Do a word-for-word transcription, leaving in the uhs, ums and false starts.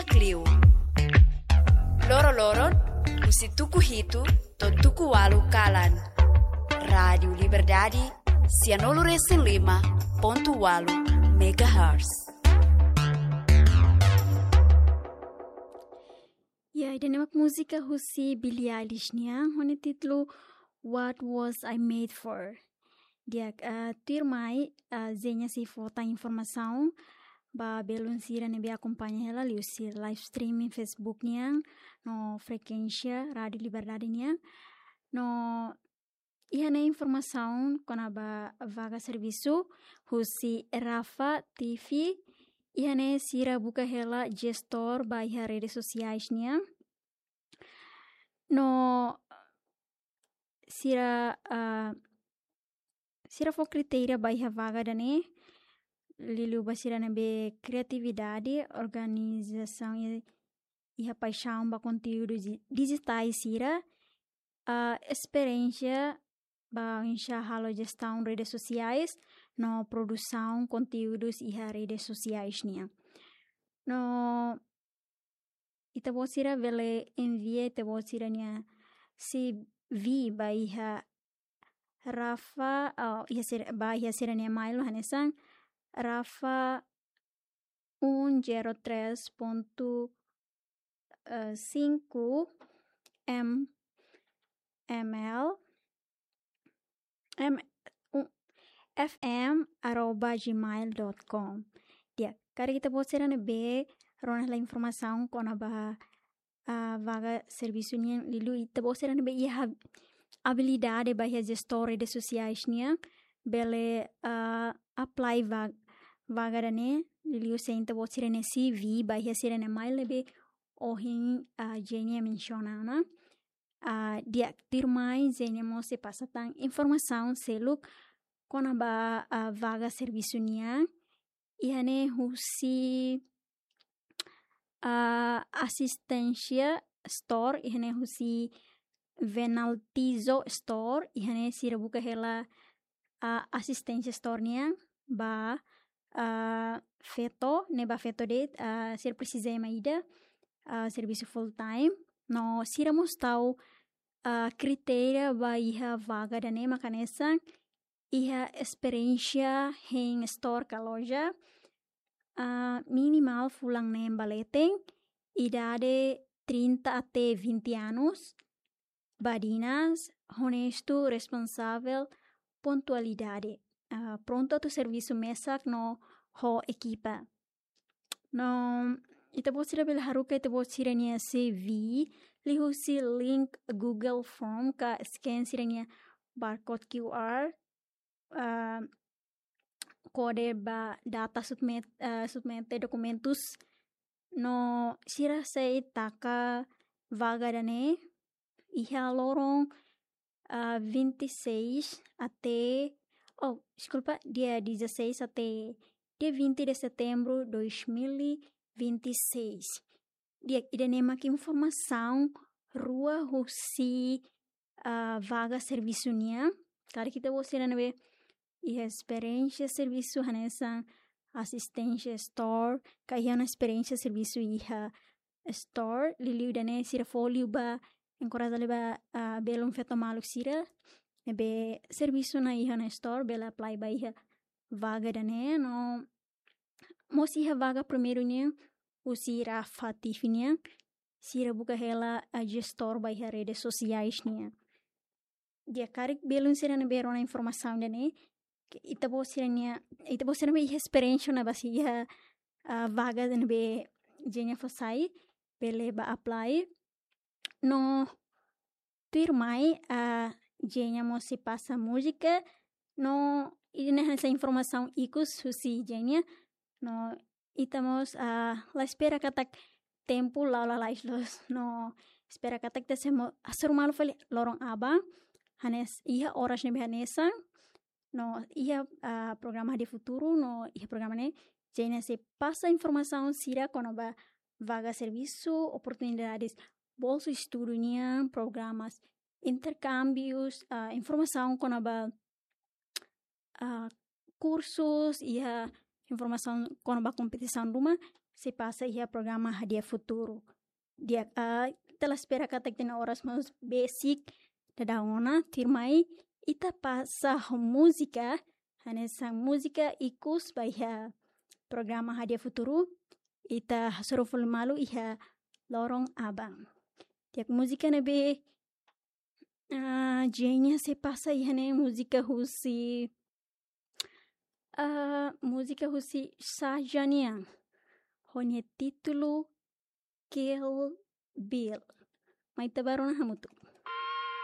Kliu. Loro-loron, husi tuku hitu to'o tuku ualu kalan. Rádiu Liberdade, sianulu-resin-lima pontu ualu megahertz. Ya, ida-ne'e mak múzika husi Billie Eilish nian, ho nia títulu What Was I Made For. Di'ak, ah, tuirmai, ah, Zenia sei fó tan informasaun ba belun sira ne'ebé akompaña hela liuhusi live streaming Facebook nian, no frekuénsia Rádiu Liberdade nian. No iha ne'e informasaun kona-ba vaga servisu husi Rafa T V. Iha ne'e sira buka hela jestór ba iha redes sosiais nian. No sira, ah, sira fó kritéria ba iha vaga ida-ne'e, liuliu ba sira ne'ebé kriatividade, organizasaun i, iha paixaun ba konteúdu di-, dijitais sira, ah, esperiénsia ba oinsá halo jestaun redes sosiais, no produsaun konteúdus iha redes sosiais nian. No ita-boot sira bele envia ita-boot sira-nia C V ba iha Rafa, oh, iha sira, ba iha sira-nia email hanesan Rafa un zero tres ponto, eh, cinco M M L M, um, F M arroba gmail dot com. Di'ak, karik ita-boot sira ne'ebé rona hela informasaun kona-ba, ah, vaga servisu nian, liuliu ita-boot sira ne'ebé iha abilidade ba iha jestór redes sosiais nian, bele, ah, apply va-, vaga ida-ne'e, liuliu se ita-boot sira-nia C V ba iha sira-nia email ne'ebé ohin, ah, Zenia mensiona ona. Ah, di'ak, tuirmai Zenia mós sei pasa tan informasaun seluk kona-ba, ah, vaga servisu nian. Iha ne'e husi, ah, asisténsia store, iha ne'e husi Venaltizo store, iha ne'e sira buka hela, ah, asisténsia store nian ba, ah, feto, ne'e ba feto de'it, ah, sira presiza ema ida, ah, servisu full time. No sira mós tau, ah, kritéria ba iha vaga ida-ne'e mak hanesan iha esperiénsia hein store ka loja, ah, minimál fulan neen ba leten, idade trinta até vinte anos, badinas, onestu, responsavel, pontualidade, ah, prontu atu servisu mesak no ho ekipa. No ita-boot sira bele haruka ita-boot sira-nia C V liuhusi link Google Form ka scan sira-nia barcode Q R, ah, kode ba data submit, ah, submete dokumentus. No sira sei taka vaga ida-ne'e iha loron, ah, vinte e seis até, oh, deskulpa, dia dezasseis até dia vinte de setembro dois mil e vinte e seis. Di'ak, ida-ne'e mak informasaun rua husi, ah, vaga servisu nian. Karik ita-boot sira ne'ebé iha esperiénsia servisu hanesan asisténsia store, ka iha ona esperiénsia servisu iha store, liuliu ida-ne'e sira fó liu ba, enkoraja liu ba, ah, belun feto maluk sira ne'ebé servisu ona iha ona store, bele apply ba iha vaga ida-ne'e. No mós iha vaga primeiru nian husi Rafa T V nian, sira buka hela, ah, jestór ba iha redes sosiais nian. Di'ak, karik belun sira ne'ebé rona informasaun ida-ne'e, ke ita-boot sira-nia, ita-boot sira ne'ebé iha esperiénsia ona ba sira iha, ah, vaga ne'ebé Zenia fó sai, bele ba apply. No tuirmai, ah, Zenia mós sei pasa múzika, no ida-ne'e hanesan informasaun ikus husi Zenia, no ita mós, ah, la espera katak tempu la'o lalais loos, no espera katak ita sei mo-, hasoru malu fali loron aban, hanes-, iha oras ne'ebé hanesan, no iha, ah, programa de futuru, no iha programa ne'e Zenia sei pasa informasaun sira kona-ba vaga servisu, oportunidades bolsu estudu nian, programas interkámbius, ah, informasaun kona-ba, ah, kursus, iha informasaun kona-ba kompetisaun ruma, sei pasa iha programa Hadi'a Futuru. Di'ak, ah, ita la espera katak ita-nia oras mós besik daudaun ona, tuirmai ita pasa ho múzika, hanesan múzika ikus ba iha programa Hadi'a Futuru, ita hasoru fali malu iha loron aban. Di'ak, múzika ne'ebé, ah, Jenya sei pasa iha ne'e múzika husi, ah, múzika husi Shah Jahan nian. Ho nia títulu Kill Bill. Mai ita bá rona hamutuk.